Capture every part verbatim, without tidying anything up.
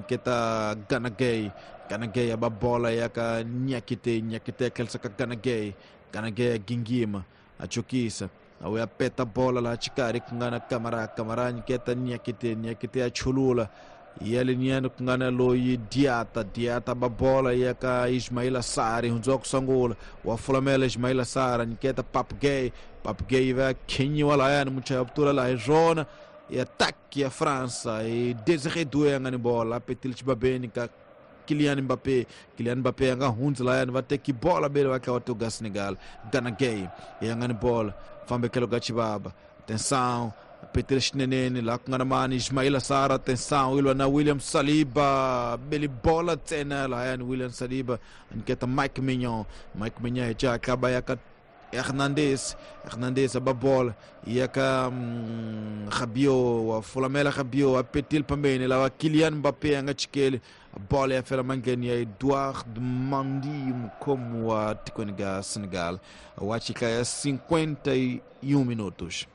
nyiketa Gana Gueye. Gana Gueye a ba bola ya ka Niakite. Niakite a tlherisa ka Gana Gueye. Gana Gueye a gingima a chukisa a ya peta bola laha xikarhi ku nga na Kamara. Kamara nyiketa Niakite. Niakite a chulula ya leniani ku nga na loyi Diata. Diata ba bola ya ka Ismaila Sarr hundziwa ku sungula wa fulamela Ismaila Sarr nyiketa Pape Gueye. Pape Gueye va khinyiwa lahayani muchaya vutura laha hi swona ya ataki ya França e Desiré Doué a nga ni bola a petile xibabeni ka Kylian Mbappé. Kylian Mbappé a nga hundzi lahayani va teki bola bele va tlhela va tuga Senegal. Gana Gueye ya nga ni bola fambe tlhelo ka xivava. Atenção, petile xineneni laha ku nga na mani Ismaila Sarr. Atenção, yi lwa na William Saliba beli bola ntsena lahayani William Saliba a nyiketa Mike Maignan. Mike Maignan hi xihatla ba ya ka Hernandez. Hernandez a ba bola ya ka mm, Rabiot wa fulamela Rabiot a petile pambeni lava Kylian Mbappé a nga chikeli bola ya fela mangheni ya Edouard Mendy mukhomi wa tikweni ga Senegal wa chika ya cinquenta e um minutos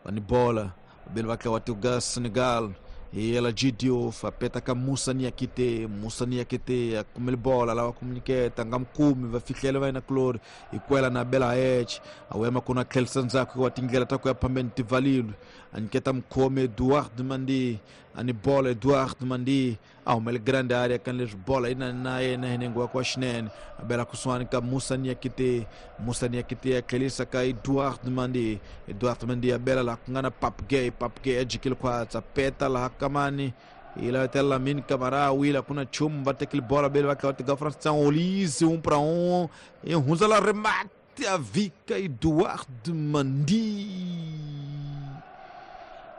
vani bola bele va tlhela va tuga Senegal e ela Diouf apeta ka Moussa Niakite. Moussa Niakite a kumele bola lava ku nyiketa nga mukumi va fihlela va yena kulori hi kwela na bela H a wema kuna tlherisa ndzhaku wa tindlela ta ku ya phambeni tivalilo a nyiketa mukhomi Edouard Mendy a ni bola Edouard Mendy a humele grande area kan leswi bola yi na na yena hi nenge wa kwa xinene a bela kusuhani ka Moussa Niakite. Moussa Niakite a tlherisa ka Edouard Mendy. Edouard Mendy a bela laha ku nga na Pape Gueye. Pape Gueye a jikile khwatsa peta laha kamani ila até Lamine Camara wila kuna nchumu va tekile bola bele va tlhela va teka France Olise um para um e hundza la remate a vika Edouard Mendy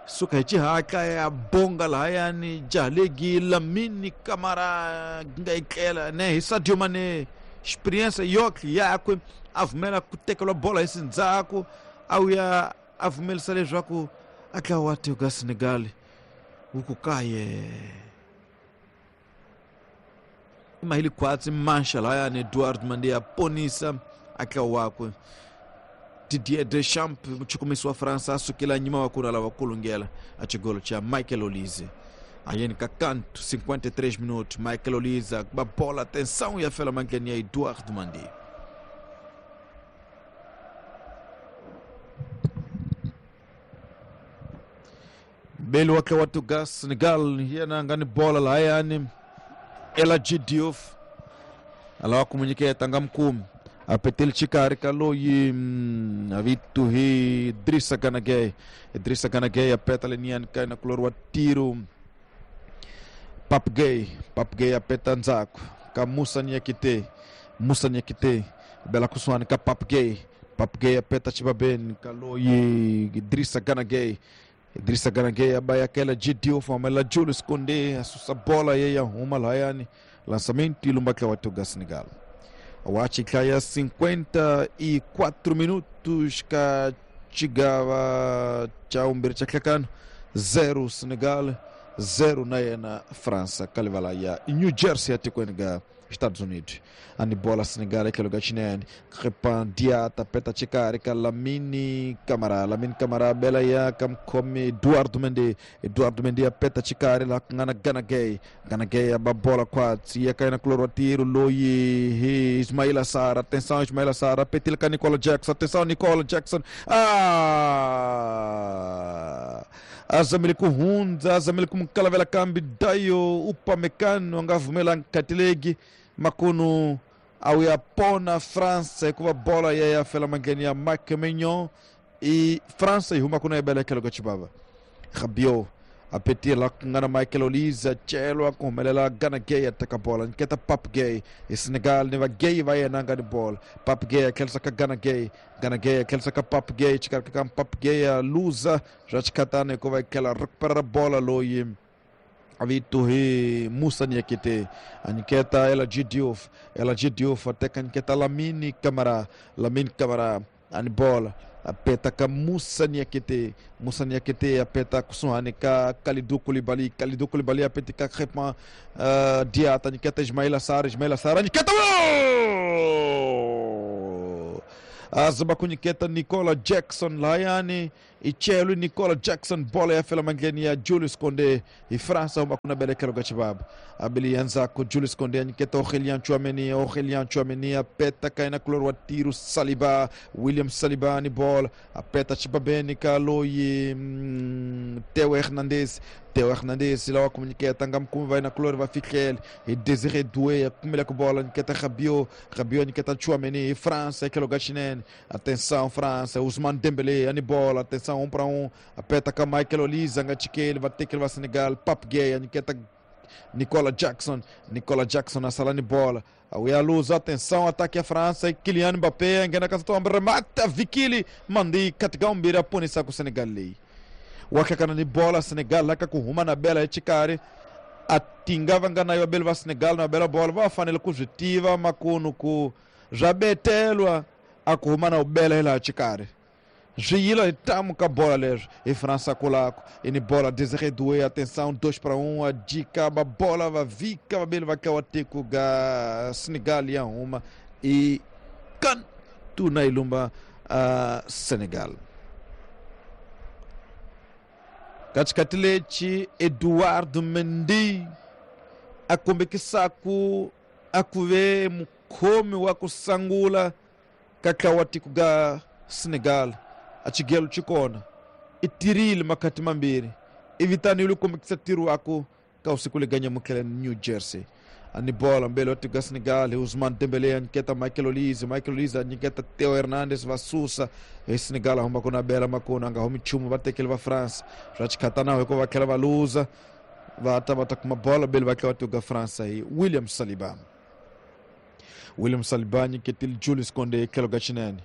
suka hi xihatla ya bonga lahayani jahalegi Lamine Camara nga yi tlela ne hi Sadio Mané experiência yoki yakwe a vumela ku tekeriwa bola hi sindzhaku a wuya a pfumelisa leswaku a tlhela wa tiko ka Senegal wu ku kaye i mahili khwatsi manxa lahayani Edouard Mendy a ponisa a tlhela wakwe. Didier Deschamps muchukumisi wa França a sukela nyima wa kuna lava kulungela a xigolo xa Michael Olise ayeni ka canto cinquenta e três minutos Michael Olise ba bola atenção ya fela mangheni ya Edouard Mendy. Belo wa wa tuga Senegal yena nga ni bola lahayani Ela Diouf alawa ku nga mukumi a petele xikarhi ka loyi a vito hi Idrissa Gana Gueye. Idrissa Gana Gueye a peta leniani ka na kulori wa tiro Pape Gueye. Pape Gueye a peta ndzhaku ka Moussa Niakite. Moussa Niakite bela kusuhani ka Pape Gueye. Pape Gueye a peta xivaveni ka loyi Idrissa Gana Gueye. Idrissa Gana Gueye a ba yakela Diouf amela Julius Koundé a susa bola ye ya huma lahayani lançamento e lumba wa tuga Senegal. Wa ya cinquenta e quatro minutos ka chigava cha umbiri cha tlhekano zero Senegal zero na yena França kalivala ya New Jersey atikweni ga Estados Unidos. Ani bola Senegal etlhelo ka xinene Crepin Diata peta xikarhi ka Lamine Camara. Lamine Camara bela ya ka mukhomi Edouard Mendy. Edouard Mendy a peta xikarhi laha ku nga na Gana Gueye. Gana Gueye a ba bola khwatsi ya ka yena kulori wa tiro loyi hi Ismaila Sarr. Atenção Ismaila Sarr petile ka Nicola Jackson. Atenção Nicola Jackson ah azamile ku hundza azamile ku mukalavela kambi Dayo Upamecano a nga vumela nkatilegi makunu au ya pona França hikuva bola ya ya fela mangheni ya Mike Maignan e França yi huma kuna yi bela etlhelo ka xivava. Rabiot a petile laha ku nga na Michael Olise a celwa ku humelela Gana Gueye a teka bola nyiketa Pape Gueye hi Senegal ni va Gueye va yena a nga ni bola. Pape Gueye a tlherisa ka Gana Gueye. Gana Gueye a tlherisa ka Pape Gueye xikarhi ka Pape Gueye a luza swa xikhatana hikuva yi tlhela recuperar bola loyi a vito hi Moussa Niakite a nyiketa Ela Diouf. Ela Diouf a teka nyiketa Lamine Camara. Lamine Camara a ni bola a peta ka Moussa Niakite. Moussa Niakite a peta kusuhani ka Kalidou Koulibaly. Kalidou Koulibaly a peta ka Crepin uh, Diata nyiketa Ismaila Sarr. Ismaila Sarr nyiketa azamba ku nyiketa Nicola Jackson lahayani Ichelu Nicola Jackson bola ya fela mandleni ya Julius Konde hi França huma kuna belekelo ka xibaba abili yanzako Julius Konde anyiketa Aurélien Tchouaméni Aurélien Tchouaméni apeta kaina kulor wa tiro Saliba William Saliba ni bola apeta xibabeni ka loyi mm, Theo Hernandez Theo Hernandez lawa kumunyiketa nga mukumi va na kulor va fihlele hi Désiré Doué akumela ku bola nyiketa Rabiot Rabiot nyiketa Tchouaméni hi França etlhelo ka xinene atenção França Ousmane Dembélé ani bola atenção um para um apeta ka Michael Olise nga chikele va tekele va Senegal Pape Gueye anyiketa Nicola Jackson Nicola Jackson asala ni bola awuya luza atenção ataque a França e Kylian Mbappé engena ka tombe remata Vikili mandi katika umbira punisa ku Senegal leyi wakhakana ni bola Senegal laka ku huma na bela exikarhi a tinga va nga na yo beli va Senegal na bela bola va fanele ku swi tiva makunu ku swa betelwa a ku huma na u bela hi laha xikarhi swiyilo hi tamu ka bola leswi hi França kulako ini bola Désiré Doué atenção dois para um a dica ba bola va vika vabeli va ka wa tiko ga Senegal ya huma i kan tuna ilumba uh, Senegal katikati lexi Eduardo Mendy a kombekisaku a ku ve mukhomi wa ku sangula ka ntlawa wa tiko ga Senegal a xigelo xi kona i tirile makhati mambirhi i vitanile ku kombekisa ntirho waku ka usiku leganya mutlhela New Jersey ani bola mbele wa tiko ga Senegal hi Ousmane Dembélé a nyiketa Michael Olise Michael Olise a nyiketa Theo Hernandez va susa hi Senegal a huma ku na bela makona a nga humi nchumu va tekele va France swa xikhatanaho hikuva va tlhela va luza va ta va ta kuma bola bele va tlhela va tiko ga France hi William Saliba William Saliba nyiketile Julius Konde etlhelo ka xinene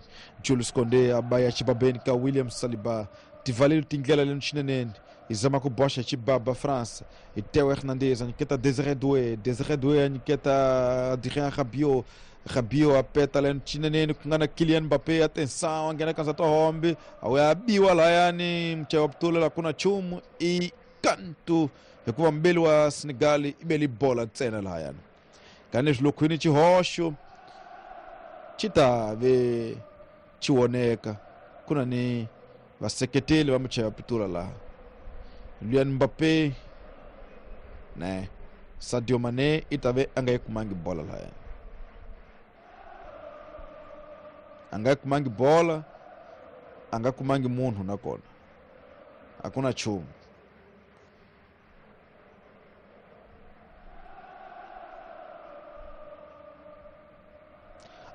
Julius Konde a ba ya xibabeni ka William Saliba tivaleli tindlela leni xineneni hi zama ku boxa xibaba France hi Theo Hernandez a nyiketa Désiré Doué Désiré Doué a nyiketa Adrien Rabiot Rabiot a peta leni xineneni ku nga na Kylian Mbappé atenção a nghena ka ndzata hombe a wu ya biwa layani muchayi wa putula la ku na nchumu i kantu hikuva mbeli wa Senegal i beli bola ntsena lahayani kaniswi lokhwini xihoxo xi ta ve xi voneka ku na ni vaseketeli va muchayi wa pitula laha Kylian Mbappé ne Sadio Mané i ta ve a nga yi kumangi bola lahaya a nga yi kumangi bola a nga kumangi munhu nakona a ku na nchumu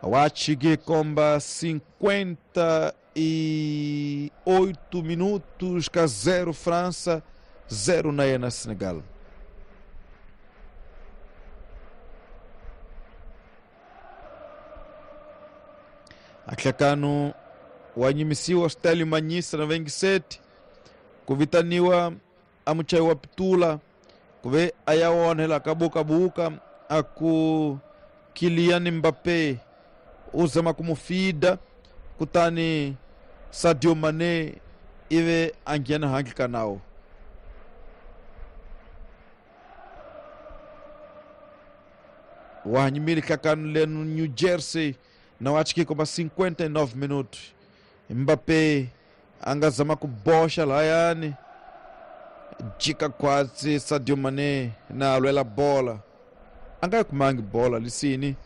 Wachige komba cinquenta e oito minutos ka zero França, zero na na Senegal. Atlakano wanyimisiwa Stelio Manyisa na vinte e sete kuvitaniwa amuchai wa pitula kuve ayaonela kabuka buka aku Kylian Mbappé uzama kumufida kutani Sadio Mané ive angiana hangi kanao wahanyimili kakanu lenu New Jersey na wachiki komba cinquenta e nove minutos Mbappé angazama kubosha layani jika kwatsi Sadio Mané na alwela bola anga kumangi bola lisini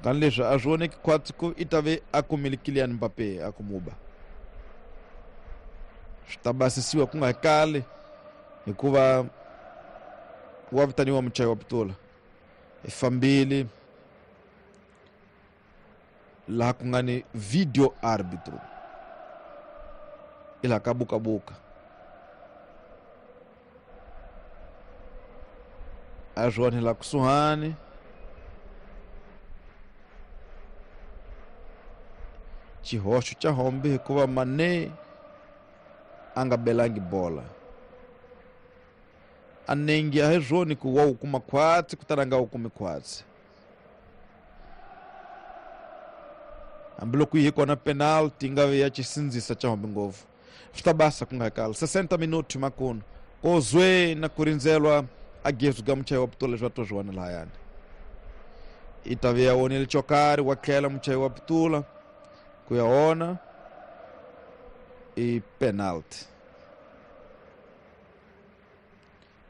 kani leswi a swi voneki khwatsi ku i ta ve a kumile Kylian Mbappé a kumuba swi ta basisiwa ku nga kali hikuva wa vitaniwa muchayi wa pitula i fambile laha ku nga ni video arbitro i laha ka bukabuka a swi onhela kusuhani xihoxo xa hombe hikuva Mané a nga belangi bola a nengi a hi swona ku wa wu kuma khwatsi kutani a nga wu kumi khwatsi hambiloko yi kona penalty yi nga ve ya xisindzisa xa hombe ngopfu swi ta basa ku nga kali sessenta minuti makunu kozwe na ku rindzelwa a gezu ga muchayi wa pitula leswi va to swi vona lahayani i ta ve ya onile xo karhi wa tlhela muchayi wa pitula ku ya ona I penalty.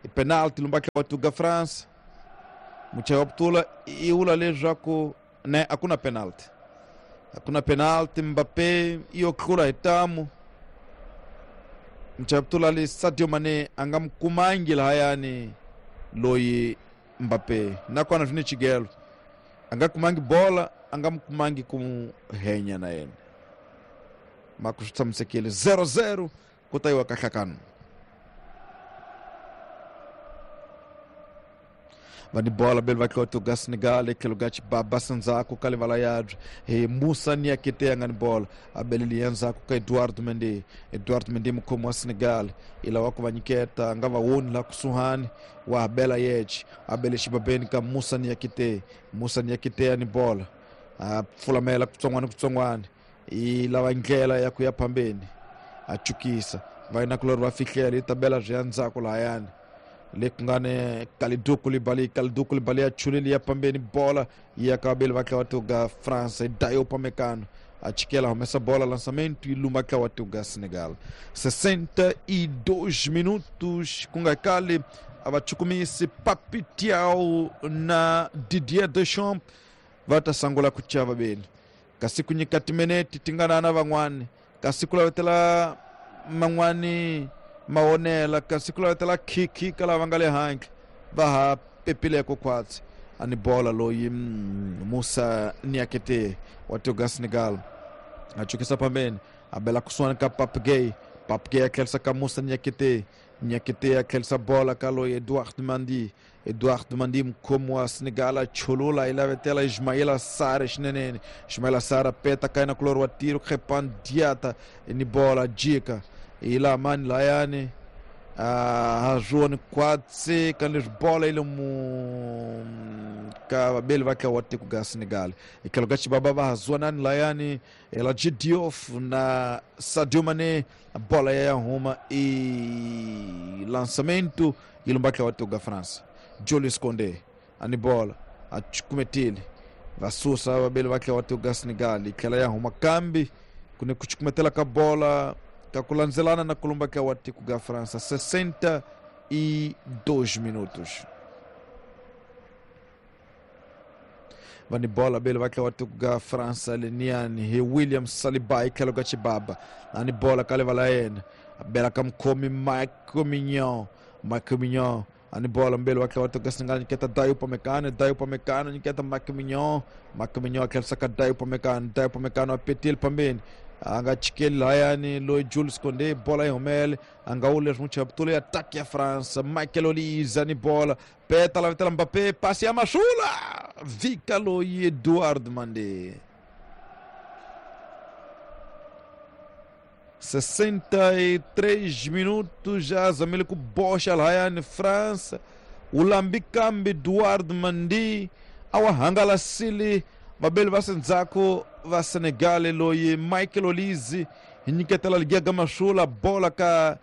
I penalty lumba ka watu France. Muchayi wa putula i vula leswaku ne a ku na penalty. A ku na penalty Mbappe iyo tlula hi tamu. Muchayi wa putula li Sadio Mane a nga mi kumangi lahayani loyi Mbappe nakona swi ni chigelo. A nga kumangi bola, a nga mi kumangi ku henya na yena. Mako swi tshamisekile zero zero ku ta yiwa ka nhlakano. Va ni bola beli va tloto ga Senegal etlhelo ga Chibaba sendzhaku ka livala yabye hi Musa Niakite a nga ni bola a beleli ya ndzhaku ka Eduardo Mendy. Eduardo Mendy mukhomi wa Senegal i lava ku va nyiketa a nga va woni laha kusuhani wa bela yeche a bele xibabeni ka Musa Niakite. Musa Niakite a ni bola a pfulamela kutsongwana kutsongwana i lava ndlela ya ku ya phambeni a chukisa va yinakulori va fihlela yi ta bela byi ya ndzhaku lahayani le ku nga ni Kalidou Koulibaly. Kalidou Koulibaly ya chulile ya pambeni bola ya ka vabeli va tlawa ga France. Dayo Upamecano a chikela humesa bola lançamento e lumba tlawa ga Senegal. sessenta e dois minutos ku nga kale a va chukumisi Pape Thiaw na Didier Deschamps va ta sangula ku chava vabeli kasi ku nyika timinete ti nga na van'wani kasi ku lavetela man'wani mawonela kasi ku lavetela khikhi ka lava nga le handle va ha pepileko khwatsi. A ni bola loyi Musa Niakite wa tiko Senegal a chukisa pambeni a bela kusuhani ka Pape Gueye. Pape Gueye a tlherisa ka Musa Niakite. Niakite a tlherisa bola ka loyi Eduardo Mendy. Eduardo Mendy mukhomi wa Senegal a chulula i lavetela Ismaila Sarr xinenene. Ismaila Sarr a peta ka yena kulori wa tiro Krépin Diatta ni bola jika i laha mani lahayani a hazuoni khwatsi ka leswi bola yi le mu ka vabeli va tlawa tiko ga Senegal. Etlhelo ka Chibaba va hazuanani lahayani El Hadji Diouf na Sadio Mane bola ya ya huma i lançamento yi lumba tlawa tiko ga France. Julius Koundé a ni bola a chukumetile va susa vabeli va tlawa tiko ga Senegal yi tlhela ya huma kambi ku ni ku chukumetela ka bola ka ku landzelana na kulumba ka wa tiko ga França. sessenta e dois minutos. Va ni bola bele va tlawa tiko ga França leniani hi William Saliba i tlhelo ka Chibaba a ni bola ka livala yena a bela ka mukhomi Michael Mignon. Michael Mignon a ni bola mbele wa tlawa tiko ga Senegal nyiketa Dayo Upamecano. Dayo Upamecano nyiketa Michael Mignon. Michael Mignon a tlherisa ka Dayo Upamecano. Dayo Upamecano a petile pambeni a nga chikeli lahayani loyi Jules Koundé bola yi humele a nga wu leswi n'wi chaputule ataki ya France. Michael Olise ni bola peta lavetela Mbappé pasi ya masula vika loyi Eduardo Mendy. sessenta e três minutos já zamile ku boxa lahayani France wu lambi kambi Eduardo Mendy a wa hangalasile vabeli va sendzhaku va Senegal loyi Michael Olise hi nyiketela Ligiaga Masula bola ka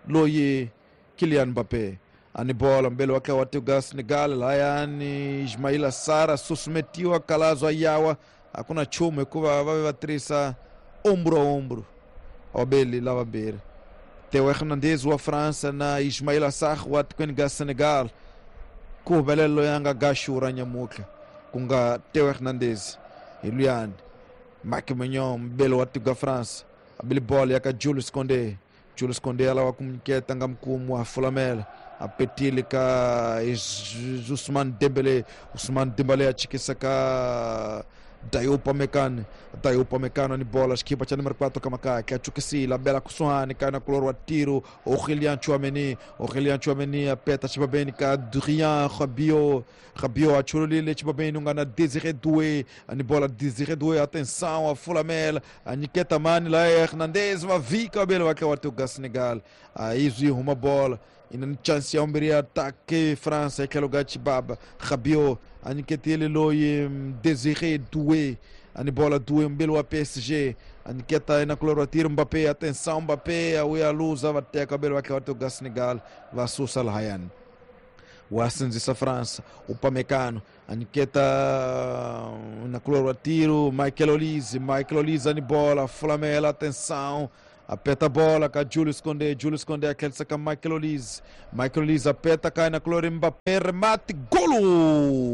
loyi Kylian Mbappé a ni bola mbele wa tlawa tiko ga Senegal lahayani Ismaila Sarr susumetiwa kalazwa yawa a ku na nchumu hikuva va ve va tirhisa ombro a ombro vabeli lavambirhi Theo Hernandez wa França na Ismaila Sarr wa tikweni ga Senegal ku humelela loyi a nga gaxura nyamutlha ku nga Theo Hernandez hi luyani Marc Mignon mbele wa tiko ga France a beli bola ya ka Jules Koundé. Jules Koundé a lava ku nyiketa nga mukhumu wa fulamela a petile ka Ousmane Dembélé. Ousmane Dembélé a chikisa ka Dayo Upamecano. Dayo Upamecano ni bola xikipa cha número quatro ka makaka a chukisile a bela kusuhani ka na kulori wa tiro Aurélien Tchouaméni. Aurélien Tchouaméni a peta xibabeni ka Adrien Rabiot. Rabiot a chululile xibabeni u nga na Désiré Doué a ni bola Désiré Doué atenção a fulamela a nyiketa mani la Hernandez va vika vabeli va tlawa tiko ga Senegal a izwi huma bola ina ni chance ya vumbirhi ya atake France etlhelo ga Chibaba. Rabiot a nyiketile loyi Désiré Doué a ni bola Doué mbele wa P S G a nyiketa ina kulori wa tiro Mbappé atenção Mbappé a wuya luza va teka vabeli va tlawa tiko ga Senegal va susa lahayani wa sindzisa France. Upamecano a nyiketa na kulori wa tiro Michael Olise. Michael Olise a ni bola fulamela atenção A peta bola ka Julius Koundé, Julius Koundé a tlherisa ka Michael Olise, Michael Olise a peta ka na Kylian Mbappé, remate, golo!